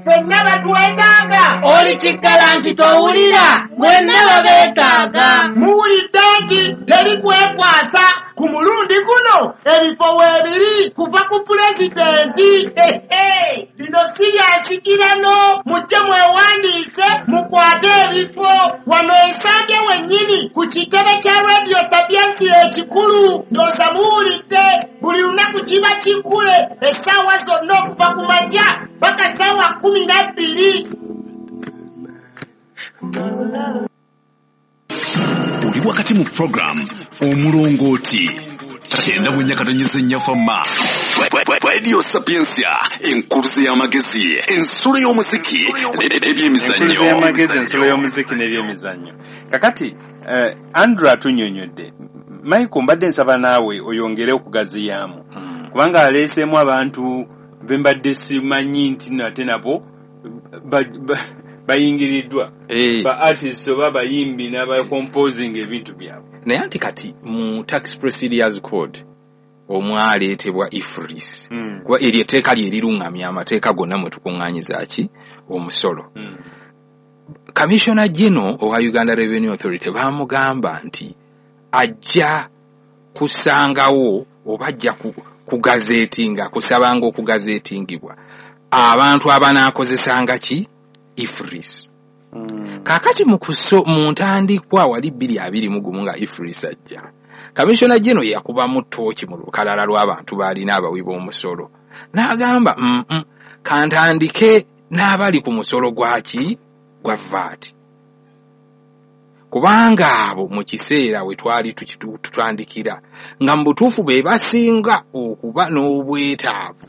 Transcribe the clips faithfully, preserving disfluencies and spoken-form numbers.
Ffenna batwetaaga. Oli kikkalanti towulira, mwenna babeetaaga. Muwulidde nti teri kwekwasa ku mulundi guno ebifo weebiri kuva ku pulezidenti. Lino si lya nsikirano, mujje mwewandiise mukwate ebifo wano Ensambya wennyini ku kitebe kya Radio Sapientia ekikulu. Ndowooza muwulidde buli lunaku kiba kikule essaawa zonna okuva ku makya paka ssaawa kkumi na bbiri. Oli wakati mu program Omulongooti kyenda mu nnya katonnyeze nnya Fama Radio Sapientia, enkuluze y'amagezi, ensulo y'omuziki n'ebyemizannyo. Enkuluze y'amagezi, ensulo y'omuziki n'ebyemizannyo. Kakati eh, Andrew atunnyonnyodde. Michael, mbadde nsaba naawe oyongere okugaziyaamu, kubanga aleeseemu abantu be mbadde simanyi nti nate nabo bayingiriddwa, ba artists oba bayimbi n'abacomposing ebintu byabwe. Naye anti kati mu Tax Procedures Code omwaleetebwa EFRIS, Mm. kuba eryo etteeka lye liruŋŋamya amateeka gonna mwe tukuŋŋaanyiza ki omusolo. Mm. Commissioner General owa Uganda Revenue Authority baamugamba nti ajja kusangawo oba ajja kugazeetinga, kusabanga okugazeetingibwa abantu abanaakozesanga ki EFRIS. Mm. Kaakati mu kuso mu ntandikwa wali bbiri abiri mu gumu nga EFRIS ajja, Commissioner General yakubamu ttooki mu lukalala lw'abantu b'alina abawi b'omusolo n'agamba mm -mm, kantandike n'abali ku musolo gwaki gwa V A T, kubanga abo mu kiseera we twali tutandikira nga mu butuufu be basinga okuba n'obwetaavu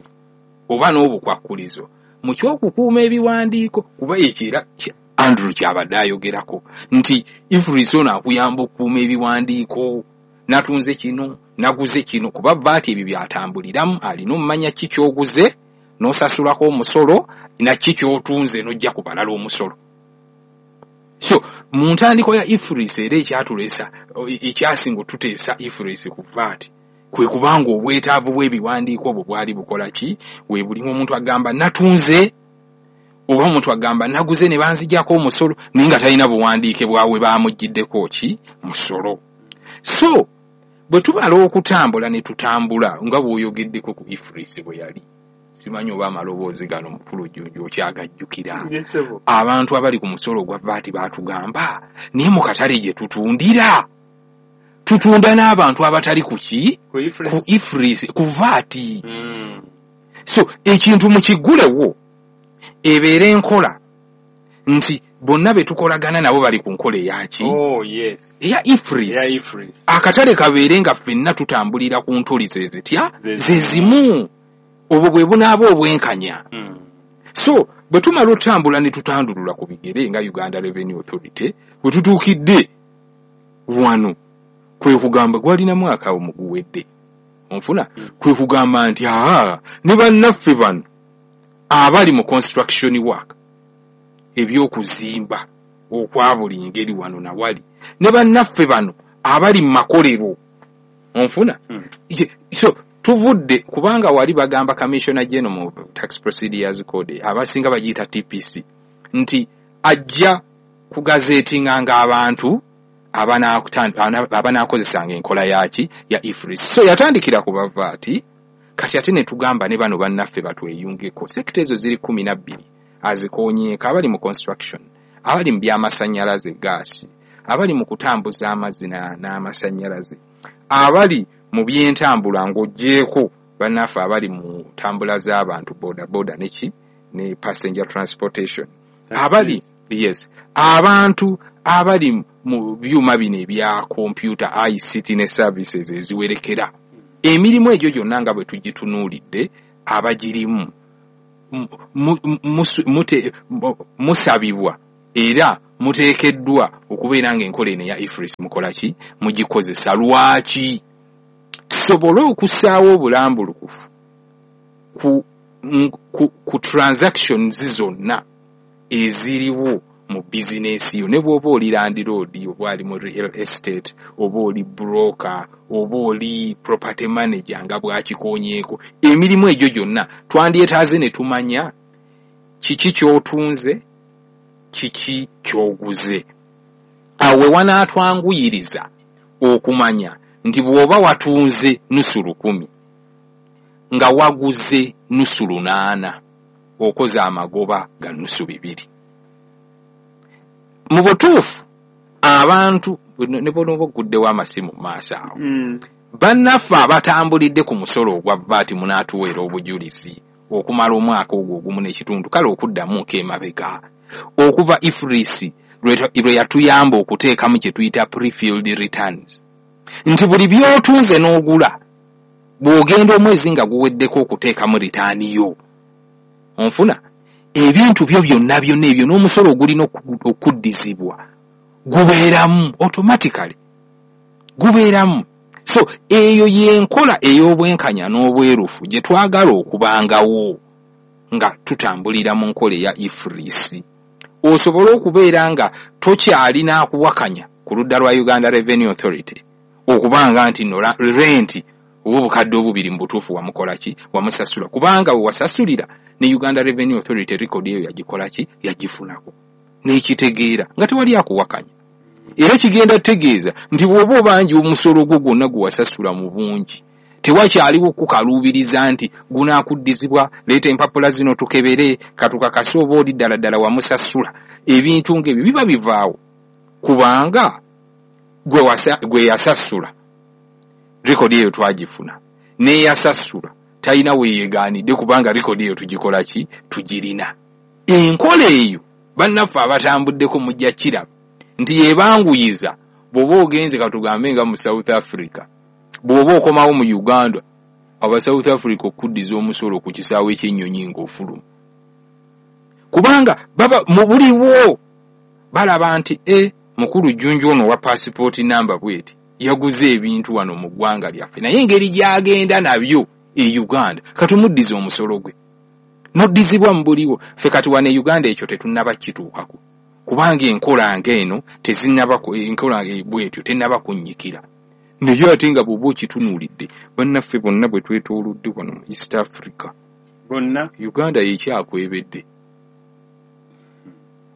oba n'obukwakkulizo mu ky'okukuuma ebiwandiiko, kuba ekyo era Andrew kyabadde ayogerako nti EFRIS ono akuyamba okukuuma ebiwandiiko, natunze kino, naguze kino, kuba V A T ebyo byatambuliramu, alina omumanya ki ky'oguze n'osasulako omusolo naki ky'otunze n'ojja ku balala omusolo. So mu ntandikwa ya EFRIS era ekyatuleesa, ekyasinga otuteesa EFRIS ku V A T kwe kubanga obwetaavu bw'ebiwandiiko obwo bwali bukola ki we bulimu, omuntu agamba natunze oba omuntu agamba naguze ne banzigyako omusolo naye nga talina buwandiike bwawe bamuggiddeko ki musolo. So bwe tumala okutambula ne tutambula nga bw'oyogeddeko ku EFRIS bwe yali, simanyi oba amaloboozi gano mukulu Jjunju okyagajjukira, abantu abali ku musolo gwa V A T baatugamba naye mu katale gye tutundira tutunda n'abantu abatali ku ki ku EFRIS, ku V A T. Mm. So ekintu mukiggulewo ebeere enkola nti bonna be tukolagana nabo bali ku nkola eyaki Oh, yes. eya EFRIS. Eya EFRIS. Akatale kabeere nga ffenna tutambulira ku ntoli ze zitya Ze ze zimu, obwo bwe bunaaba obwenkanya. Mm. So bwe tumala otambula ne tutandulula ku bigere nga Uganda Revenue Authority, bwe tutuukidde wano kwe kugamba gwalina mwaka omuguwedde onfuna, Mm. kwe kugamba nti aa ne bannaffe bano abali mu construction work, ebyokuzimba okwa buli ngeri wano nawali, ne bannaffe bano abali mu makolero onfuna. Mm. Ye- so tuvudde kubanga wali bagamba Commissioner General mu Tax Procedures Code, abasinga bagiyita T P C, nti ajja kugazeetinganga abantu abanaakozesanga enkola yaki ya EFRIS. So yatandikira ku ba V A T, kati ate ne tugamba ne bano bannaffe batweyungeko. Sector ezo ziri kumi na bbiri azikoonyeeko: abali mu construction, abali mu byamasannyalaze gaasi, abali mu kutambuza amazzi n'amasannyalaze, abali mu byentambula ng'oggyeeko bannaffe abali mu ntambula z'abantu, boda boda neki ne passenger transportation, abali yes abantu abali mu byuma bino ebya computer, I C T ne services eziwerekera. Emirimu egyo gyonna nga bwe tugitunuulidde abagirimu musabibwa era muteekeddwa okubeera ng'enkola eno eya EFRIS mukola ki mugikozesa. Lwaki? Tusobole okussaawo obulambulukufu ku, ku, ku transactions zonna eziriwo mu bizinesi yo, ne bw'oba oli landlord oba ali mu real estate oba oli broker oba oli property manager nga bw'akikoonyeeko, emirimu egyo gyonna twandyetaaze ne tumanya Kiki ky'otunze, kiki ky'oguze. Awo we wanaatwanguyiriza okumanya nti bw'oba watunze nusu lukumi nga waguze nusu lunaana, okoze amagoba ga nusu bibiri. Mu butuufu abantu ne bw'onooba oguddewo amasimu mu maaso awo, Mm. bannaffe abatambulidde ku musolo ogwa V A T munaatuweera obujulizi okumala omwaka ogwo ogumu n'ekitundu, kale okuddamuko emabega okuva EFRIS lwe yatuyamba okuteekamu kye tuyita prefilled returns, nti buli by'otunze n'ogula, bw'ogenda omwezi nga guweddeko okuteekamu return yo, onfuna ebintu byo byonna byonna ebyo n'omusolo ogulina okuddizibwa gubeeramu automatically, gubeeramu. So eyo y'enkola ey'obwenkanya n'obwerufu gye twagala okubangawo nga tutambulira mu nkola eya EFRIS, osobole okubeera nga tokyalina akuwakanya ku ludda lwa Uganda Revenue Authority okubanga nti no renti oba obukadde obubiri mu butuufu wamukola ki, wamusasula, kubanga we wasasulira ne Uganda Revenue Authority record eyo yagikola ki, yagifunako n'ekitegeera nga tewali akuwakanya. Era kigenda tutegeeza nti bw'oba obanja omusolo gwo gwonna gwe wasasula mu bungi, tewakyaliwo kukaluubiriza nti gunaakuddizibwa, leeta empapula zino tukebere katukakase oba oli ddala ddala wamusasula. Ebintu ng'ebyo biba bivaawo kubanga gwe yasasula rekodi eyo twagifuna, n'eyasasula talina weyeegaanidde kubanga rekodi eyo tugikola ki, tugirina. Enkola eyo bannaffe abatambuddeko mujja kiraba nti yeebanguyiza. Bw'oba ogenze katugambe nga mu South Africa, bw'oba okomawo mu Uganda, aba South Africa okuddiza omusolo ku kisaawe ky'ennyonyi ng'ofuluma, kubanga baba mu buliwo balaba nti e mukulu Jjunju ono wa pasipooti namba bweti yaguze ebintu wano mu ggwanga lyaffe, naye engeri gy'agenda nabyo e Uganda katumuddiza omusolo gwe n'oddizibwa mu buliwo. Ffe kati wano e Uganda ekyo tetunnaba kituukako kubanga enkola ng'eno tezinnaba, enkola bwetyo tennaba kunnyikira. Naye ate nga bw'oba okitunuulidde, bannaffe bonna bwe twetoolodde wano mu East Africa bonna, Uganda yekyakwebedde,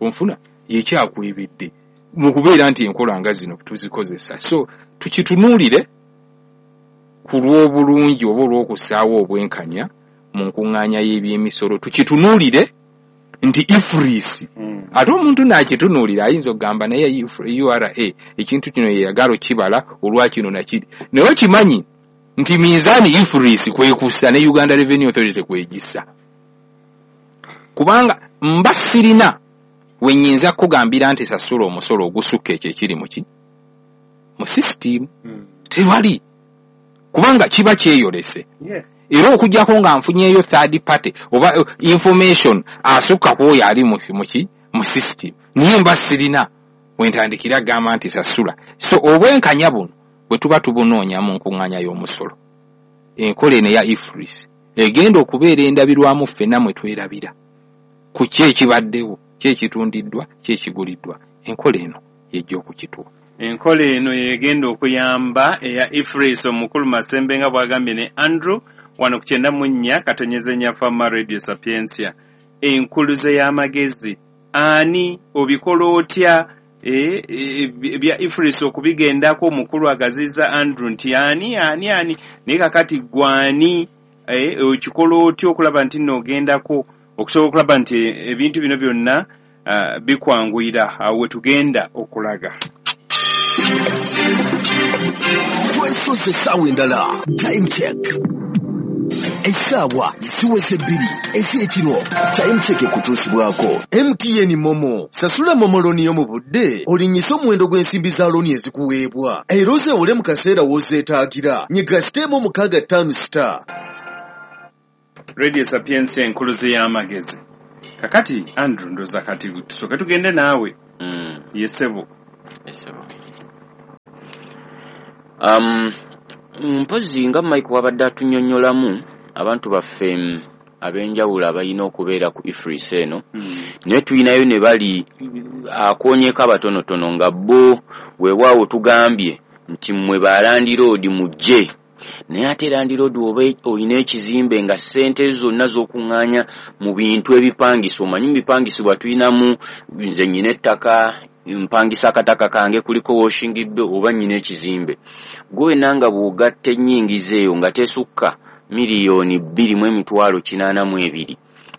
onfuna, yekyakwebedde mu kubeera nti enkola nga zino tuzikozesa. So tukitunuulire ku lw'obulungi oba olw'okussaawo obwenkanya mu nkuŋŋaanya y'ebyemisolo, tukitunuulire nti EFRIS mm. Ate omuntu naakitunuulira ayinza okugamba naye U R A ekintu kino yeyagala okibala olwakino nakiri, naye okimanyi nti minzaani EFRIS kwekussa ne Uganda Revenue Authority kwegissa, kubanga mba sirina we nnyinza kukugambira nti sasula omusolo ogusukka ekyo ekiri muki mu sisitimu mm. Tewali, kubanga kiba kyeyolese. Yes. Era okuggyako nga nfunyeeyo third party oba uh, information asukka ku oyo ali muki mu system, naye mba sirina wentandikira gamba nti sasula. So obwenkanya buno bwe tuba tubunoonya mu nkuŋŋaanya y'omusolo, enkola eno eya EFRIS egenda okubeera endabirwamu ffenna mwe twerabira ku ki ekibaddewo, ki ekitundiddwa, ki ekiguliddwa. Enkola eno yejja okukituwa. Enkola eno yegenda okuyamba eya EFRIS. Omukulu Masembe nga bw'agambye ne Andrew wano ku kyenda mu nnya katonyeze nnya Fama Radio Sapientia, enkuluze y'amagezi. Ani obikola otya ebya e, EFRIS okubigendako? Omukulu agaziza Andrew nti ani ani ani, naye kakati gwani e, okikola otya okulaba nti nno ogendako okusobola okulaba nti ebintu bino byonna uh, bikwanguyira? Awo we tugenda okulaga. Twesoze essaawa endala, time check, essaawa ziweze bbiri ez'ekiro. Time check ekutuusibwako M T N MoMo. Sasula MoMo loan yo mu budde, olinyise omuwendo gw'ensimbi za loan ezikuweebwa, era ozeewole mu kaseera w'ozeetaagira. Nyiga star emu mukaaga ttaano star. Radio Sapientia, enkuluze y'amagezi. Kakati Andrew, ndoza kati tusooke tugende naawe. Mm. Yesebo. Yesebo. um, mpozi nga Mike wabadde atunyonnyolamu abantu baffe mm, ab'enjawulo abalina okubeera ku EFRIS eno, mm. naye tulinayo ne bali akoonyeko abatonotono nga bo weewaawo tugambye nti mmwe ba landlord mujje. Naye ate landiroodi oba olina ekizimbe nga ssente zonna z'okuŋŋaanya mu bintu ebipangisibwa, omanyi mu bipangisibwa tulinamu nze nnyina ettaka, mpangisa akataka kange kuliko washing bay oba nnyina ekizimbe. Gwe wenna nga bw'ogatta ennyingiza eyo nga tesukka miliyoni bbiri mu emitwalo kinaana mu ebiri,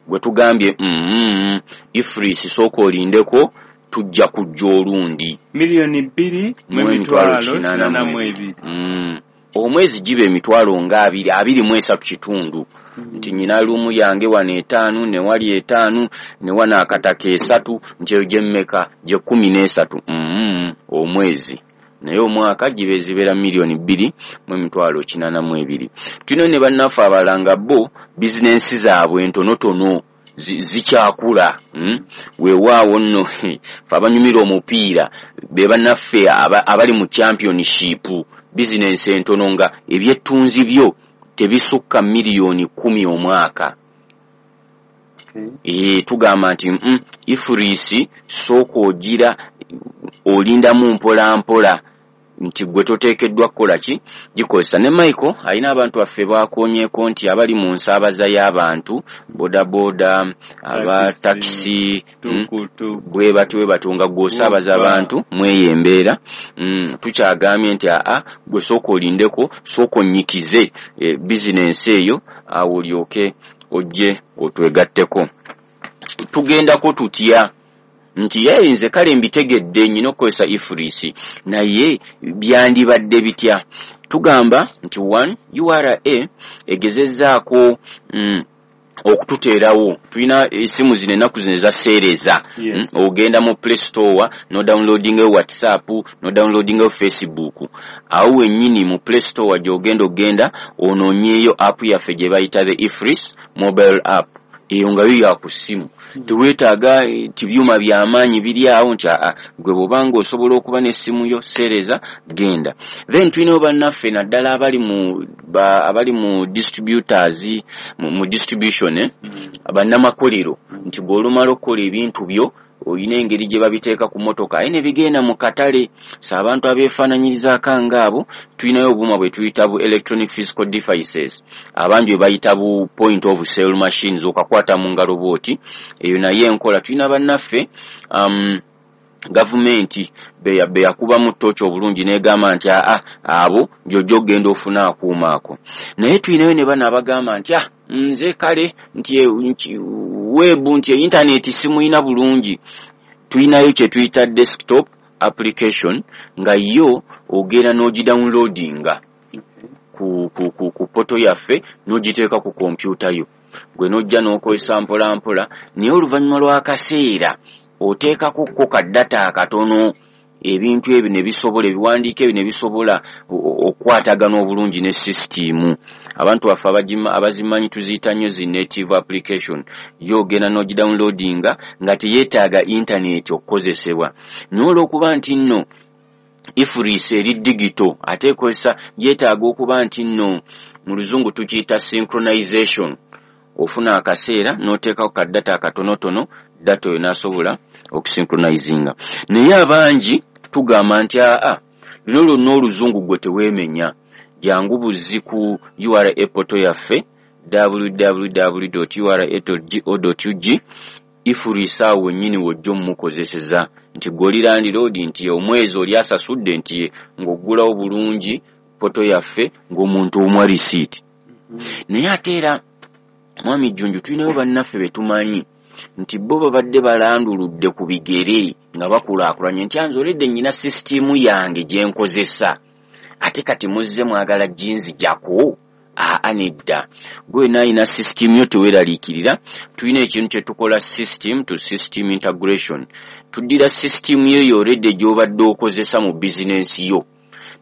gwe tugambye mm, EFRIS sooka olindeko tujja kujja olundi. Miliyoni bbiri mu emitwalo kinaana mu ebiri. Mm. Omwezi giba emitwalo nga abiri, abiri mu esatu kitundu. Nti nnyina luumu yange wano etaano, ne wali etaano, ne wano akataka esatu, nti eyo gye mmeka, gye kkumi n'esatu. Mm, omwezi. Naye omwaka gibe zibeera miliyoni bbiri mu emitwalo kinaana mu ebiri. Tulina ne bannaffe abalala nga bo bizinensi zaabwe entonotono zikyakula. Mm? Weewaawo nno fe abanyumira omupiira be bannaffe abali mu championship, bizinensi entono nga ebyettunzi byo tebisukka miliyoni kkumi omwaka. Okay. E, tugamba nti mm, EFRIS sooka ogira olindamu mpola mpola nti gwe toteekeddwa kukola ki gikozesa. Ne Michael alina abantu baffe bakoonyeeko nti abali mu nsaabaza y'abantu bodaboda, aba takisi, bwe batyo bwe batyo nga gw'osaabaza abantu mweyo embeera. Mm, tukyagambye nti aa gwe sooka olindeko, sooka onnyikize e, bizinensi eyo awo olyoke ojje otwegatteko. Tugendako tutya nti ye nze kale mbitegedde nnyina okukozesa EFRIS, naye byandibadde bitya? Tugamba nti one, U R A egezezzaako mm, okututeerawo. Tulina esimu zino ennaku zino eza seereza. Yes. Mm, ogenda mu Play Store no downloadingayo WhatsApp, no downloadingayo Facebook. Awo wennyini mu Play Store gy'ogenda ogenda onoonyeeyo app yaffe gye bayita the EFRIS mobile app. Eyo nga yo ya ku ssimu. Teweetaaga tibyuma by'amaanyi biri awo nti aa gwe bw'obanga osobola okuba n'essimu yo seereza genda. Then tulinayo bannaffe naddala abali mu ba, abali mu distributors, mu, mu distribution eh? Mm. Bannamakolero nti bw'olumala okukola ebintu byo olina engeri gye babiteeka ku mmotoka aye ne bigenda mu katale. So abantu abeefaananyirizaako ngaabo tulinayo obuuma bwe tuyita bu electronic physical devices, abangi bwe bayita bu point of sale machines, okakwata mu ngalo bw'oti. Eyo naye enkola tulina bannaffe um, gavumenti be yakubamu ttooki obulungi n'egamba nti aa abo gy'ojja ogenda ofuna akuuma ako. Naye tulinayo ne bano abagamba nti ah nze kale nti webu nti intaneti simuyina bulungi. Tulinayo kye tuyita desktop application nga yo ogenda n'ogidownloadinga ku, ku, ku, ku poto yaffe n'ogiteeka ku kompyuta yo, gwe n'ojja n'okozesa mpola mpola. Naye oluvannyuma lw'akaseera oteekako ko ka data akatono, ebintu ebyo ne bisobola, ebiwandiiko ebyo ne bisobola okukwatagana obulungi ne sisitiimu. Abantu baffe abazimanyi tuziyita nnyo zi native application. Yo ogenda n'ogidownloadinga nga teyeetaaga intaneti okukozesebwa. Naye olw'okuba nti nno EFRIS eri digito ate ekozesa, yeetaaga okuba nti nno mu luzungu tukiyita synchronization. Ofuna akaseera n'oteekako ka data akatonotono, data oyo n'asobola okusynchronizinga. Naye abangi tugamba nti aa luno lwonna oluzungu gwe teweemenya, jangu buzzi ku U R A portal yaffe w w w dot u r a dot g o dot u g. EFRIS awo wennyini w'ojja omukozeseza nti gwe oli landiroodi nti omwezi oli asasudde nti ng'oggulawo bulungi poto yaffe ng'omuntu omuwa risiiti. Naye ate era mwami Jjunju tulinayo bannaffe be tumanyi nti bo babadde balanduludde ku bigere nga bakulaakulanye nti anze oledde nnyina sisitiimu yange gye nkozesa, ate kati muzze mwagala ginzijako. Aa nedda, gwe wenna alina sisitiimu yo teweeraliikirira. Tulina ekintu kye tukola system to system integration. Tuddira sisitiimu yo eyo oledde gy'obadde okozesa mu bizinensi yo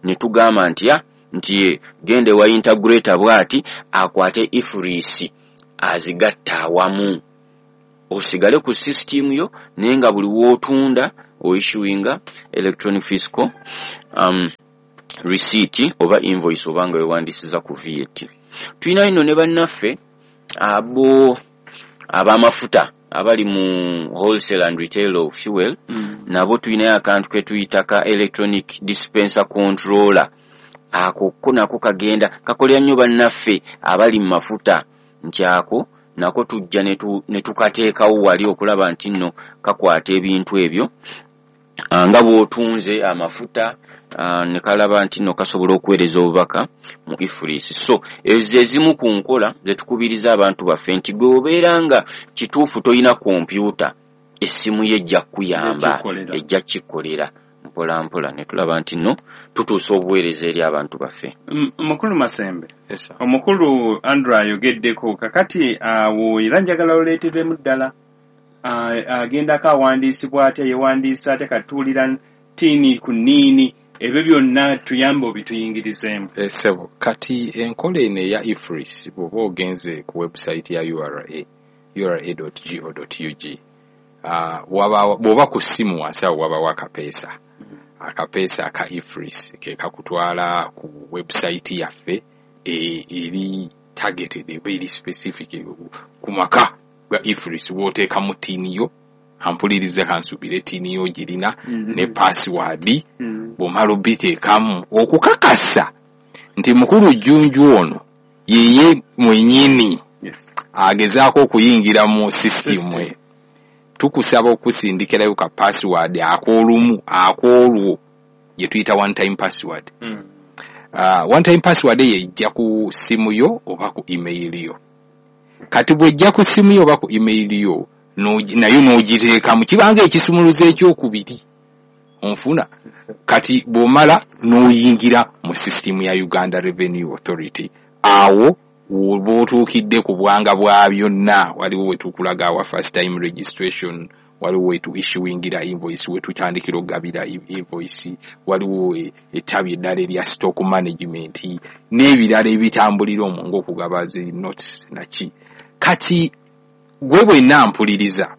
ne tugamba nti ah nti genda ewa integrator bw'ati akwate EFRIS azigatta awamu, osigale ku sisitiimu yo naye nga buli w'otunda oissuinga electronic fiscal um, receipt oba invoice oba nga weewandiisiza ku V A T. Tulinayo nno ne bannaffe abo ab'amafuta abali mu wholesale and retail of fuel, mm. nabo tulinayo akantu ke tuyita ka electronic dispenser controller. Ako ko nako kagenda kakolera nnyo bannaffe abali mu mafuta, nti ako nako tujja ne tukateekawo wali okulaba nti nno kakwata ebintu ebyo nga bw'otunze amafuta, ne kalaba nti nno kasobola okuweereza obubaka mu EFRIS. So ezo ezimu ku nkola ze tukubiriza abantu baffe nti gwe obeera nga kituufu toyina kompyuta, essimu ye ejja kukuyamba, ejja kkikolera mpola mpola, ne tulaba nti nno tutuusa obuweereza eri abantu baffe. Mukulu Masembe, omukulu Andrew ayogeddeko kakati awo, era njagala oleeteremu ddala agendako awandiisibwa atya, yewandiisa atya, katuwulira tiini ku nniini, ebyo byonna tuyambe obituyingirizeemu. Ssebo, kati enkola eno eya EFRIS, bw'oba ogenze ku website ya U R A, U R A dot G O dot U G, bw'oba ku ssimu wansi awo wabawo akapeesa, akapeesa aka EFRIS ke kakutwala ku website yaffe eri targeted, eba eri specific ku maka ga EFRIS, w'oteekamu ttiini yo, ampuliriza kansuubire ttiini yo girina ne password, bw'omala obiteekamu okukakasa nti mukulu Jjunju ono yeye mwennyini agezaako okuyingira mu sisitimu eyo. Tukusaba okusindikirayo ka password ak'olumu ak'olwo gye tuyita one time password. Mm. Uh, one time password eyo ejja ku ssimu yo oba ku email yo. Kati bw'ejja ku ssimu yo oba ku email yo nayo n'ogiteekamu, kibanga ekisumuluzo ekyokubiri onfuna. Kati bw'omala n'oyingira mu sisitimu ya Uganda Revenue Authority, awo woba otuukidde ku bwanga bwa byonna, waliwo we tukulaga awa first time registration, waliwo we tu issuingira invoice, we tutandikira okugabira invoice, waliwo ettabi eddala erya stock management n'ebirala ebitambulira omwo ng'okugaba zi notes naki. Kati gwe bwenna mpuliriza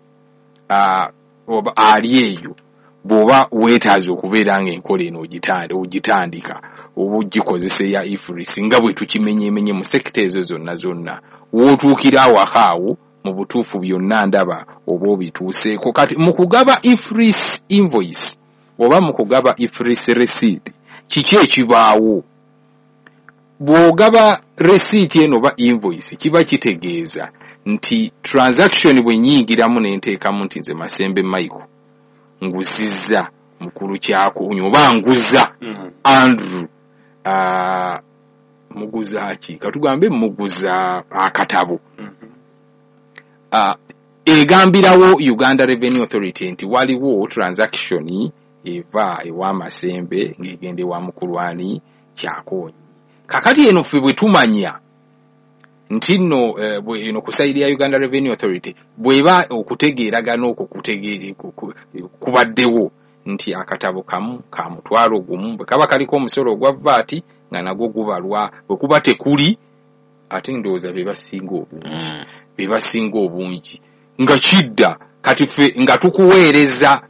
oba ali eyo, bw'oba weetaaze okubeera ng'enkola eno ogitandika oba ogikozesa eya EFRIS nga bwe tukimenyeemenye mu sekita ezo zonna zonna, w'otuukira awaka awo mu butuufu byonna ndaba oba obituuseeko. Kati mu kugaba EFRIS invoice oba mu kugaba EFRIS receipt, kiki ekibaawo? Bw'ogaba receipt eno oba invoice, kiba kitegeeza nti transaction bwe nnyingiramu ne nteekamu nti nze Masembe Michael nguzizza mukulu Kyakunyu oba nguza Andrew, uh, muguza ki, katugambe muguza akatabo, uh, egambirawo Uganda Revenue Authority nti waliwo transaction eva ewa Masembe ng'egenda ewa mukulu ani Kyakonyi. Kakati eno ffe bwe tumanya nti nno eno ku sayidi ya Uganda Revenue Authority bw'eba okutegeeragana okwo kubaddewo nti akatabo kamu ka mutwalo gumu bwe kaba kaliko omusolo ogwa V A T nga nagwo gubalwa, bwe kuba tekuli ate ndowooza be basinga obungi, be basinga obungi nga kidda. Kati ffe nga tukuweereza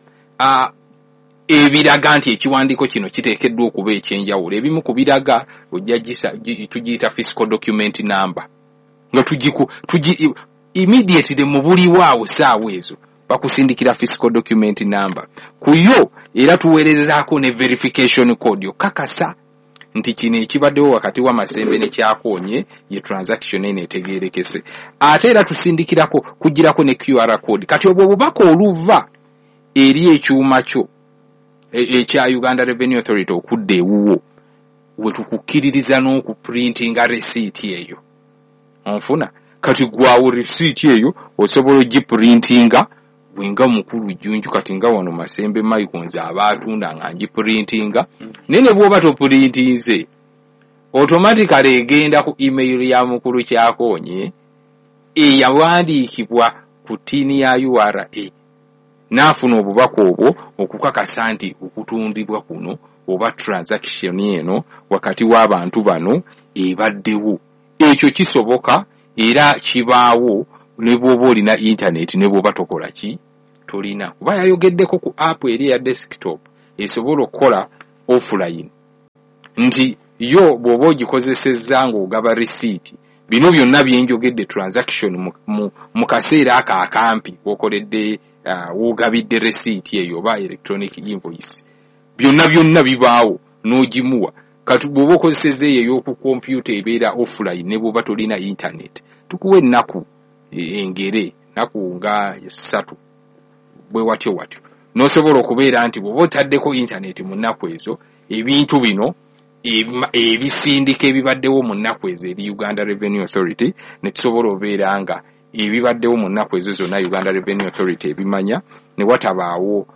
ebiraga nti ekiwandiiko kino kiteekeddwa okuba ekyenjawulo. Ebimu ku biraga ojja tugiyita fiscal document number, nga tugiku tugi immediately mu buliwo awo saawa ezo bakusindikira fiscal document number ku yo, era tuweerezaako ne verification code okakasa nti kino ekibaddewo wakati w'Amasembe ne Kyakonye ye transaction eno etegeerekese. Ate era tusindikirako kugirako ne Q R code. Kati obwo obubaka oluva eri ekyuma kyo ekya Uganda Revenue Authority okudda ewuwo, we tukukkiririza n'okuprintinga receipt eyo onfuna. Kati gwawo receipt eyo osobola ogiprintinga bwenga mukulu Jjunju, kati nga wano Masembe Michael nze aba atunda nga ngiprintinga, naye ne bw'oba toprintinze automatically egenda ku email ya mukulu Kyakonye eyawandiikibwa ku ttiini ya U R A, n'afuna obubaka obwo okukakasa nti okutundibwa kuno oba transaction eno wakati w'abantu bano ebaddewo. Ekyo kisoboka era kibaawo ne bw'oba olina internet ne bw'oba tokola ki tolina, kuba yayogeddeko ku app eri eya desktop esobola okukola offline, nti yo bw'oba ogikozesezza ng'ogaba receipt, bino byonna byenjogedde transaction mu, mu, mu kaseera ako akampi w'okoledde uh, w'ogabidde receipt eyo oba electronic invoice, byonna byonna bibaawo n'ogimuwa. Kati bw'oba okozesezza eyo ey'oku kompyuta ebeera offline ne bw'oba tolina internet, tukuwa ennaku engere, nnaku nga ssatu bwe watyo watyo, n'osobola okubeera nti bw'oba otaddeko internet mu nnaku ezo, ebintu bino ebisindika ebibaddewo mu nnaku ezo eri Uganda Revenue Authority, ne tusobola obeera nga ebibaddewo mu nnaku ezo zonna Uganda Revenue Authority ebimanya, ne watabaawo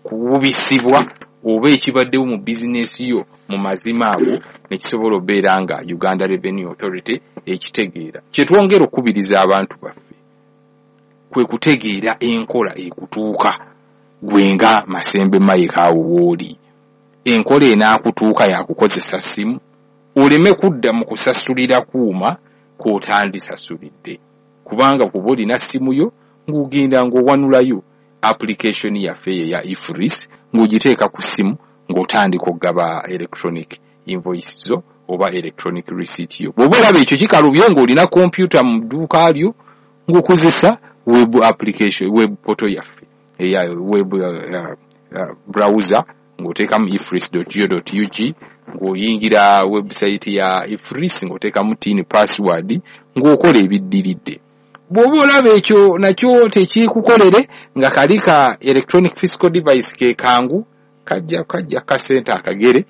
kuwubisibwa oba ekibaddewo mu bizinesi yo mu mazima ago, ne kisobola obeera nga Uganda Revenue Authority ekitegeera. Kye twongera okukubiriza abantu baffe kwe kutegeera enkola ekutuuka gwe nga Masembe Mike awo w'oli. Enkola enaakutuuka yakukozesa ssimu, oleme kudda mu kusasulira kuuma k'otandisasulidde, kubanga kuba olina ssimu yo ng'ogenda ng'owanulayo application yaffe eyo eya EFRIS ng'ogiteeka ku ssimu ng'otandika okugaba electronic invoice zo oba electronic receipt yo. Bw'oba olaba ekyo kikalubye ng'olina kompyuta mu dduuka lyo ng'okozesa web application, web portal yaffe eya web uh, uh, browser, ng'oteekamu efris dot go dot ug, ng'oyingira website ya EFRIS ng'oteekamu tin password ng'okola ebiddiridde. Bw'oba olaba ekyo nakyo tekikukolere, nga kali ka electronic fiscal device ke kangu kajja kajja kasente akagere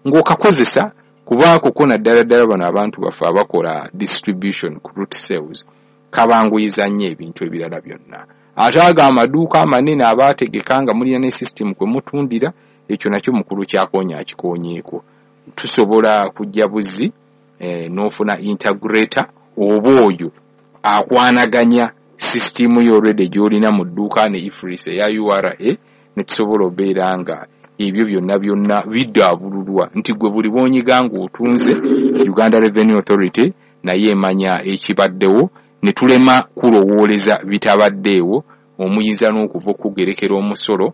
ng'okakozesa, kubaako ko naddala ddala bano abantu baffe abakola distribution ku route sales, kabanguyiza nnyo ebintu ebirala byonna. Ate ago amaduuka amanene abaategeka nga mulina ne system kwe mutundira, ekyo nakyo mukulu kyakoonya akikoonyeeko. Tusobola kujja buzzi eh, n'ofuna integrator oba oyo akwanaganya system yo already gy'olina mu dduuka ne EFRIS eya U R A, ne tusobola obeera nga ebyo byonna byonna biddaabululwa nti gwe buli bw'onyiga ng'otunze Uganda Revenue Authority naye emanya ekibaddewo, ne tulema kulowooleza bitabaddeewo, omuyinza n'okuva okugerekera omusolo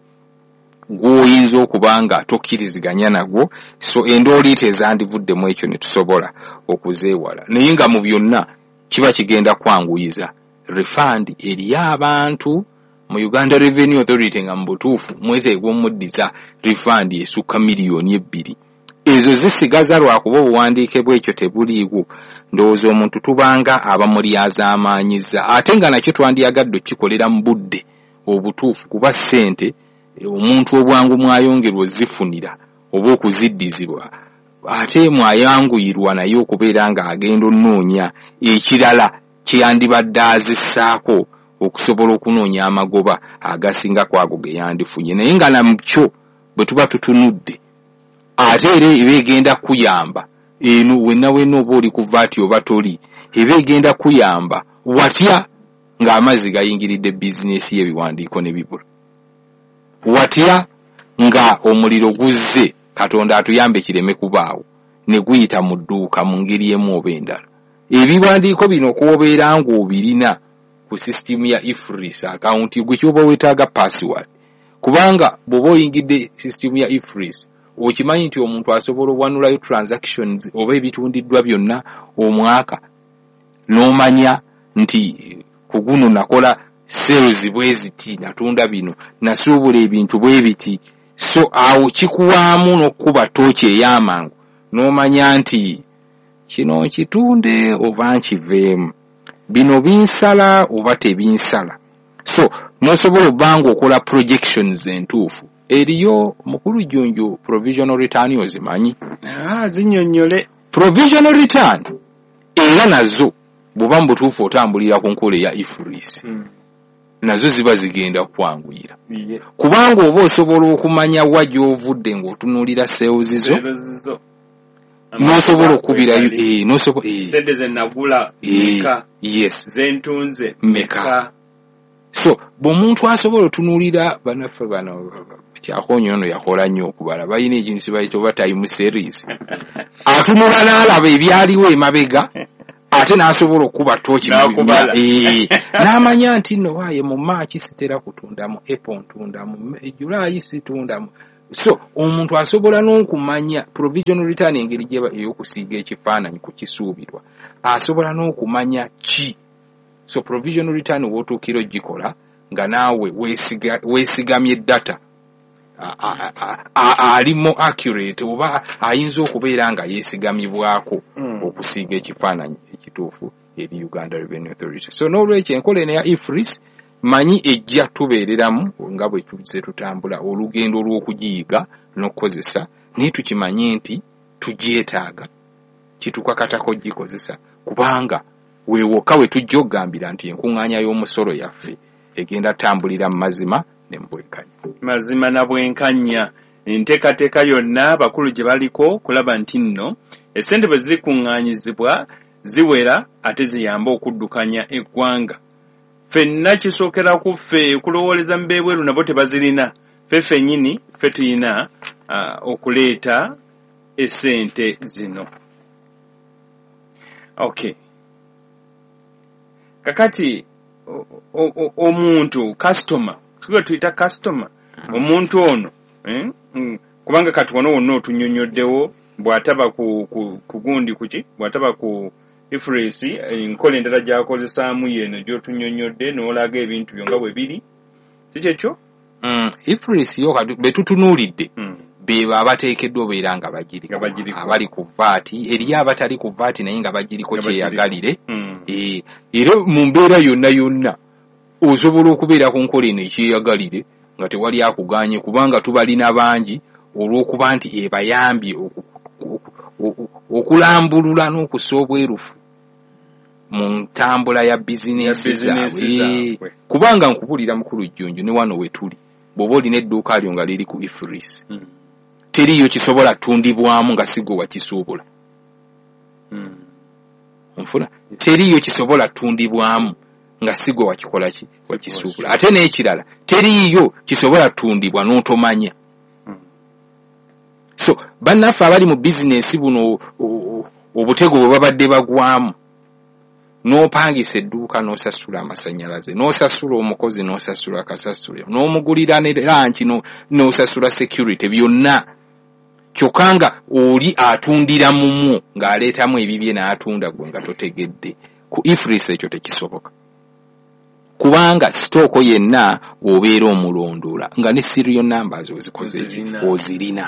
gw'oyinza okuba nga tokkiriziganya nagwo. So endooliita ezandivuddemu ekyo ne tusobola okuzeewala, naye nga mu byonna kiba kigenda kwanguyiza refund eri abantu mu Uganda Revenue Authority, nga mu butuufu mweteegwa omuddiza refund esukka miliyoni ebbiri. Ezo zisigaza lwakuba obuwandiike bw'ekyo tebuliiwo. Ndowooza omuntu tubanga abamulyazaamaanyiza, ate nga nakyo twandyagadde okukikolera mu budde obutuufu, kuba ssente omuntu obwangu mwayongerwa ozifunira oba okuziddizibwa, ate mwayanguyirwa naye okubeera ng'agenda onnoonya ekirala kye yandibadde azissaako okusobola okunoonya amagoba agasinga ku ago ge yandifunye. Naye nga nakyo bwe tuba tutunudde, ate era eba egenda kuyamba eno wenna wenna oba oli ku vaati oba toli, eba egenda kuyamba watya ng'amazzi gayingiridde bizinesi y'ebiwandiiko ne bibula, watya nga omuliro guzze, Katonda atuyambe kireme kubaawo, ne guyita mu dduuka mu ngeri emu oba endala. Ebiwandiiko bino kw'obeera ng'obirina ku sisitimu ya EFRIS akawunti, gwe ky'oba weetaaga password, kubanga bw'oba oyingidde sisitimu ya EFRIS okimanyi nti omuntu asobola owanulayo transactions oba ebitundiddwa byonna omwaka, n'omanya nti ku guno nakola sales bwe ziti, natunda bino, nasuubula ebintu bwe biti. So awo kikuwaamu n'okkuba ttooki ey'amangu n'omanya nti kino nkitunde oba nkiveemu, bino binsala oba tebinsala. So n'osobola obba ng'okola projections entuufu. Eriyo mukulu Jjunju provisional return ozimanyi? Ah, zinnyonnyole. Provisional return era nazo bw'oba mu butuufu otambulira ku nkola eya EFRIS, mm. nazo ziba zigenda kwanguyira, yeah. kubanga oba osobola okumanya wa gy'ovudde ng'otunuulira sales zo, n'osobola okukubirayo eh, n'osobola eh. Sente ze nagula meka, yes, ze ntunze meka. So bw'omuntu asobola otunuulira bannaffe bano Kyakoonye ono yakola nnyo okubala, balina ekintu kye bayita oba time series, atunula n'alaba ebyaliwo emabega, ate n'asobola okukuba ttooki n'amanya nti nno waaye mu Maaki sitera kutundamu, April ntundamu, July situndamu. So omuntu asobola n'okumanya provisional return engeri gyeba ey'okusiiga ekifaananyi ku kisuubirwa, asobola n'okumanya ki. So provisional return w'otuukira ogikola nga naawe weesigamye data ali more accurate oba ayinza okubeera nga yeesigamibwako Mm. okusiiga ekifaananyi ekituufu eri Uganda Revenue Authority. So n'olwekyo enkola eno eya EFRIS manyi ejja tubeereramu nga bwe tuzze tutambula olugendo lw'okugiyiga n'okukozesa, naye tukimanye nti tugyetaaga, kitukakatako gikozesa, kubanga weewokka we tujja okugambira nti enkuŋŋaanya y'omusolo yaffe egenda tambulira mu mazima ne mu bwenkanya. Mazima na bwenkanya. Enteekateeka yonna abakulu gye baliko kulaba nti nno essente bwe zikuŋŋaanyizibwa ziwera ate ziyambe okuddukanya eggwanga. Ffenna kisookera ku ffe okulowooleza mu b'ebweru, nabo tebazirina. Ffe ffennyini ffe tuyina uh, okuleeta essente zino. Okay, kakati o- o- omuntu customer, tuba tuyita customer, omuntu ono eh, mm, kubanga kati wano wonna otunnyonnyoddewo bw'ataba ku, ku, ku gundi kuki, bw'ataba ku EFRIS, enkola endala gy'akozesaamu yeno gy'otunnyonnyodde n'olaga ebintu byo nga bwe biri, si kyekyo? Mm, EFRIS yo kati be tutunuulidde Mm. bebo abateekeddwa obeera nga bagiriko, Nga bagiriko. Abali ku VAT, eriyo abatali ku VAT naye nga bagiriko Nga bagiriko. kyeyagalire. Mm. Eh, era mu mbeera yonna yonna osobola okubeera ku nkola eno ekyeyagalire nga tewali akuganye, kubanga tubalina bangi olw'okuba nti ebayambye oku- oku- oku- okulambulula n'okussa obwerufu mu ntambula ya bizinensi Ya bizinensi zaabwe. zaabwe. Kubanga nkubulira mukulu Jjunju, ne wano we tuli bw'oba olina edduuka lyo nga liri ku EFRIS, Mm. teriiyo kisobola ttundibwamu nga si gwe wakisuubula. Mm. Onfuna? Teriiyo kisobola ttundibwamu nga si gwe wakikola ki, wakisuubula. Ate n'ekirala, teriiyo kisobola ttundibwa n'otomanya. Mm. So bannaffe abali mu bizinensi buno o- o- obutego bwe babadde bagwamu, n'opangisa edduuka, n'osasula amasannyalaze, n'osasula omukozi, n'osasula kasasula, n'omugulira ne lunch, n'osasula security, byonna, kyokka nga oli atundira mumwo ng'aleetamu ebibye n'atunda gwe nga totegedde. Ku EFRIS ekyo tekisoboka, kubanga stock yenna obeera omulondoola nga ne serial numbers ozikoze ki? Ozirina. Ozirina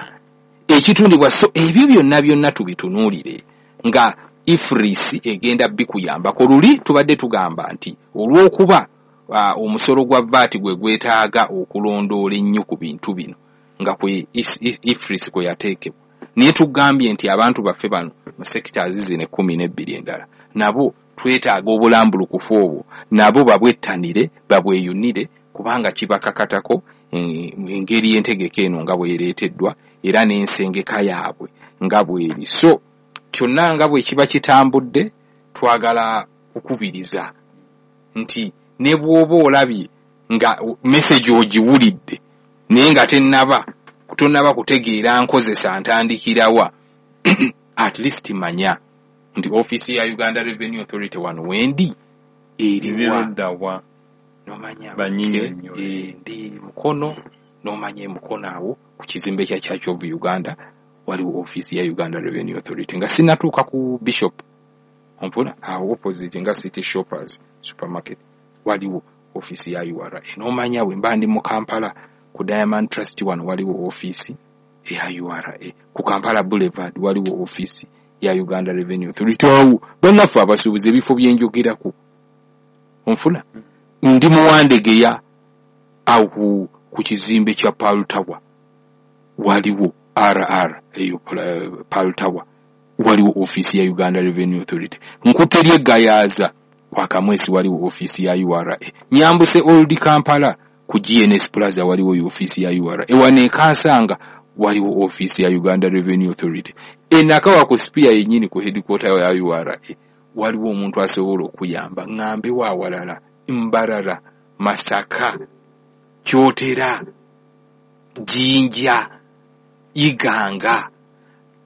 ekitundibwa. So ebyo byonna byonna tubitunuulire nga EFRIS egenda bikuyambako. Luli tubadde tugamba nti olw'okuba uh, omusolo gwa VAT gwe gwetaaga okulondoola ennyo ku bintu bino nga kwe is- is- EFRIS kwe yateekebwa, naye tugambye nti abantu baffe bano mu sectors zino ekkumi n'ebbiri endala nabo twetaaga obulambulukufu obwo, nabo babwettanire, babweyunire, kubanga kibakakatako eh, engeri entegeka eno nga bwereeteddwa era n'ensengeka yaabwe nga bweri. So kyonna nga bwe kiba kitambudde, twagala kukubiriza nti ne bw'oba olabye nga message ogiwulidde naye nga tennaba tonnaba kutegeera nkozesa ntandikirawa, at least manya nti ofiisi ya Uganda Revenue Authority wano wendi eriwa. Eriruddawa? Nomanya Bannyinnyonnyole. eh, ndi Mukono, nomanya emukono awo ku kizimbe kya Church of Uganda waliwo ofiisi ya Uganda Revenue Authority nga sinatuuka ku Bishop, onfuna? Awo opposite nga City Shoppers Supermarket waliwo ofiisi ya U R A. Nomanya bwe mba ndi mu Kampala ku Diamond Trust wano waliwo ofiisi eya U R A, ku Kampala Boulevard waliwo ofiisi ya Uganda Revenue Authority. Awo bannaffe abasuubuzi ebifo byenjogerako, onfuna? Ndi muwandegeya awo ku, ku kizimbe kya Pearl Tower waliwo R R eyo Pla- Pearl Tower waliwo ofiisi ya Uganda Revenue Authority. Nkutte ly'eggayaaza kwa Kamwesi waliwo ofiisi ya U R A. Nyambuse Old Kampala ku G N S Plaza waliwo ofiisi ya U R A. Ewano e Kansanga waliwo ofiisi ya Uganda Revenue Authority. Enakawa ku Spear yennyini ku headquarter ya U R A waliwo omuntu asobola okuyamba. Ŋŋambe waawalala, Mbarara, Masaka, Kyotera, Jinja, Iganga,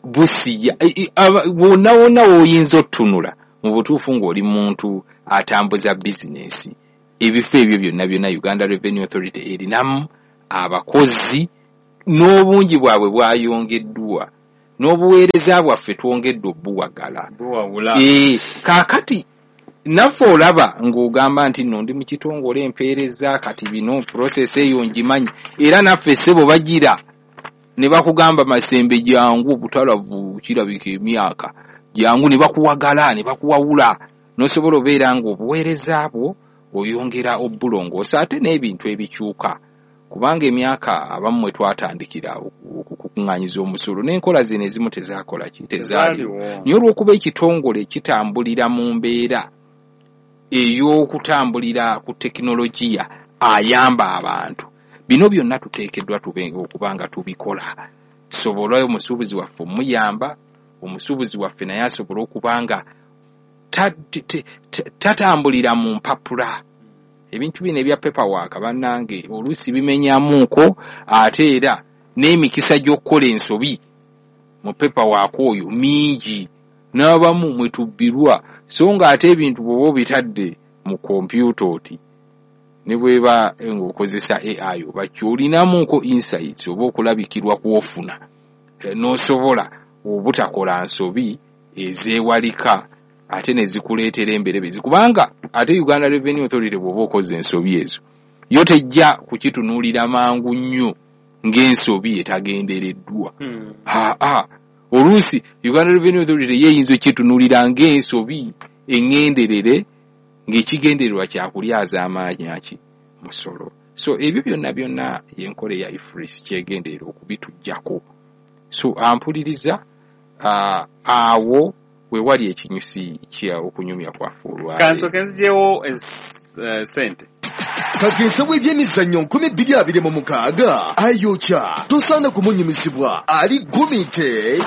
Busiya, e- e- aba- wonna wonna w'oyinza otutunula mu butuufu ng'oli muntu atambuza bizinensi, ebifo ebyo byonna byonna Uganda Revenue Authority erinamu abakozi n'obungi bwabwe bwayongeddwa n'obuweereza bwaffe twongedde obuwagala. Buwawula. Eh, kaakati Naffe olaba ng'ogamba nti nno ndi mu kitongole empeereza, kati bino process eyo ngimanyi, era naffe ssebo bagira ne bakugamba Masembe jangu, obutalavu kirabika emyaka jangu, ne bakuwagala ne bakuwawula, n'osobola obeera ng'obuweereza bwo oyongera obulongoosa ate n'ebintu ebikyuka, kubanga emyaka abamu mwe twatandikira okukuŋŋaanyiza omusolo n'enkola zino ezimu tezaakola ki, tezaaliwo. Naye olw'okuba ekitongole kitambulira mu mbeera ey'okutambulira ku tekinologiya ayamba abantu, bino byonna tuteekeddwa tube okuba nga tubikola, tusobole omusuubuzi waffe omuyamba, omusuubuzi waffe naye asobole okuba nga tatambulira mu mpapula. Ebintu bino ebya paperwork bannange oluusi bimenyamuuko, ate era n'emikisa gy'okukola ensobi mu paperwork oyo mingi, n'abamu mwe tubbirwa. So ng'ate ebintu bw'oba obitadde mu kompyuta oti ne bw'eba ng'okozesa A I oba ki, olinamuuko insights oba okulabikirwa kw'ofuna n'osobola obutakola nsobi ezeewalika ate ne zikuleetera emberebezi, kubanga ate Uganda Revenue Authority bw'oba okoze ensobi ezo yo tejja kukitunuulira mangu nnyo ng'ensobi etagendereddwa. Aa, oluusi Uganda Revenue Authority yeeyinza okitunuulira ng'ensobi eŋŋenderere ng'ekigendererwa kya kulyaza amaanyi ki musolo. So ebyo byonna byonna y'enkola eya EFRIS kyegenderera okubituggyako. So ampuliriza awo we wali ekinyusi kya okunyumya kwaffe olwaleero. Kansooke nziggyewo ssente. Kakensa w'ebyemizannyo nkumi bbiri abiri mu mukaaga ayokya, tosaana kumunyumizibwa, ali gumite.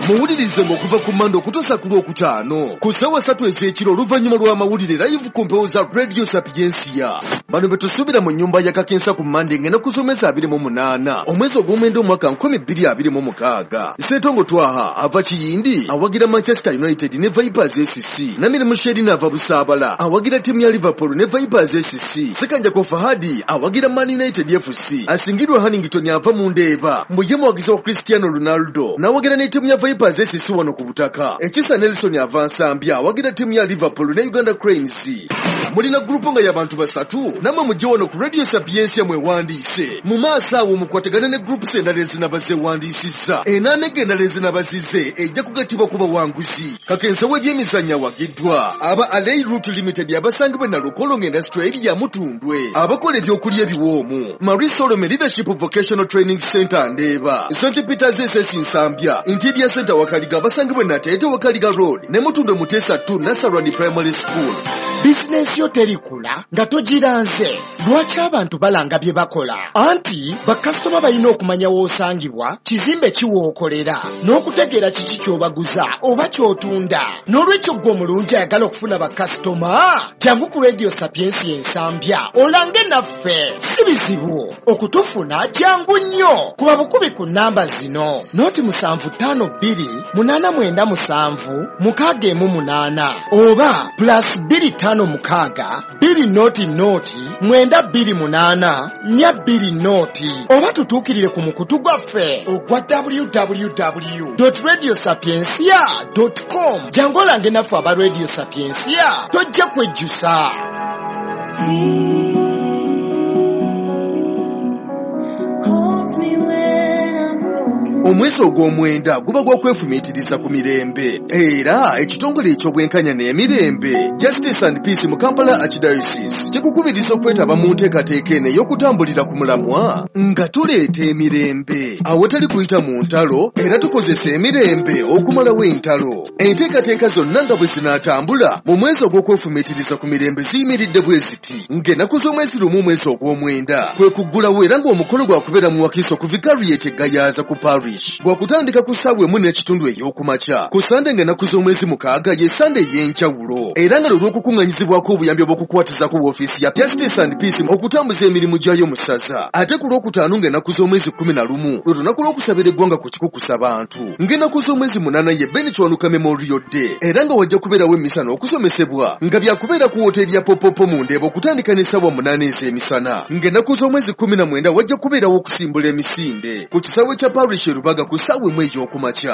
Muwulirize ng'okuva ku Mmande okutuusa ku Lwokutaano ku ssaawa ssatu ez'ekiro oluvannyuma lw'amawulire live ku mpewo za Radio Sapiensia. Bano be tusuubira mu nnyumba ya Kakensa ku Mmande ng'ennaku z'omwezi abiri mu munaana omwezi ogw'omwenda omwaka nkumi bbiri abiri mu mukaaga. Ssentongo Twaha ava Kiyindi awagira Manchester United ne Vipers S C. Namirimu Sherina ava Busaabala awagira ttiimu ya Liverpool ne Vipers S C. Ssekanjako Fahadi awagira Man United F C. Asingirwa Hannington ava mu Ndeeba mbu ye muwagizi wa Cristiano Ronaldo n'awagira ne ttiimu ya Vipers S C wano ku butaka. Ekisa Nelson ava Nsambya awagira ttiimu ya Liverpool ne Uganda Cranes. Mulina gurupu nga y'abantu basatu namwe mujje wano ku Radio Sapiensia mwewandiise. Mu maaso awo mukwatagane ne groups endala ezinaba zeewandiisizza. Enaamega endala ezinaba zize ejja kugattibwa ku bawanguzi. Kakensa w'ebyemizannyo awagiddwa aba Alei Route Limited abasangibwa e Nalukolongo Industrial Area Mutundwe, abakola ebyokulya ebiwoomu, Marie Solomon Leadership Vocational Training Center Ndeeba, Saint Peters S S Nsambya, Interior Center Wakaliga abasangibwa e Nateete Wakaliga Road ne Mutundwe Muteesa two Nasarani Primary School. Bizinensi yo terikula nga togiranze. Lwaki abantu balanga bye bakola? Anti bakasitoma balina okumanya w'osangibwa, kizimbe ki w'okolera, n'okutegeera kiki ky'obaguza oba ky'otunda. N'olwekyo ggwe omulungi ayagala okufuna bakasitoma, jangu ku Radio Sapiensia Ensambya olange naffe. Si bizibu okutufuna, jangu nnyo. Kuba bukubi ku nnamba zino: noti musanvu ttaano bbiri munaana mwenda musanvu mukaaga emu munaana oba plus bbiri ttaano mukaaga bbiri noti noti mwenda bbiri munaana nnya bbiri noti, oba tutuukirire ku mukutu gwaffe ogwa w w w dot radio sapiensia dot com. Jangu olange naffe aba Radio Sapiensia, tojja kwejjusa. Omwezi ogw'omwenda guba gwa kwefumiitiriza ku mirembe, era ekitongole eky'obwenkanya n'emirembe Justice and Peace mu Kampala Archdiocese kikukubiriza okwetaba mu nteekateeka eno ey'okutambulira ku mulamwa nga tuleeta emirembe awatali kuyita mu ntalo, era tukozesa emirembe okumalawo entalo. Enteekateeka zonna nga bwe zinaatambula mu mwezi ogw'okwefumiitiriza ku mirembe ziyimiridde bwe ziti: ng'ennaku z'omwezi lumu omwezi ogw'omwenda kwe kuggulawo, era ng'omukolo gwakubeera mu Wakiso ku Vicariate Gayaza ku Parish gwakutandika ku ssaawa emu n'ekitundu ey'okumakya. Ku Sande ng'ennaku z'omwezi mukaaga ye Sande ey'enjawulo, era nga lwe lw'okukuŋŋaanyizibwako obuyambi obw'okukwatizako woofiisi ya Justice and Peace okutambuza emirimu gyayo mu ssaza. Ate ku Lwokutaano ng'ennaku z'omwezi kkumi na lumu lwe lunaku lw'okusabira eggwanga ku kikukusa bantu. Ng'ennaku z'omwezi munaana ye Ben Kiwanuka Memorial Day, era nga wajja kubeerawo emmisa n'okusomesebwa nga byakubeera ku wooteeri ya Popopo mu Ndeeba okutandika n'essaawa munaana ez'emisana. Ng'ennaku z'omwezi kkumi na mwenda wajja kubeerawo okusimbula emisinde ku kisaawe kya Parish Rubaga ku ssaawa emu ey'okumakya.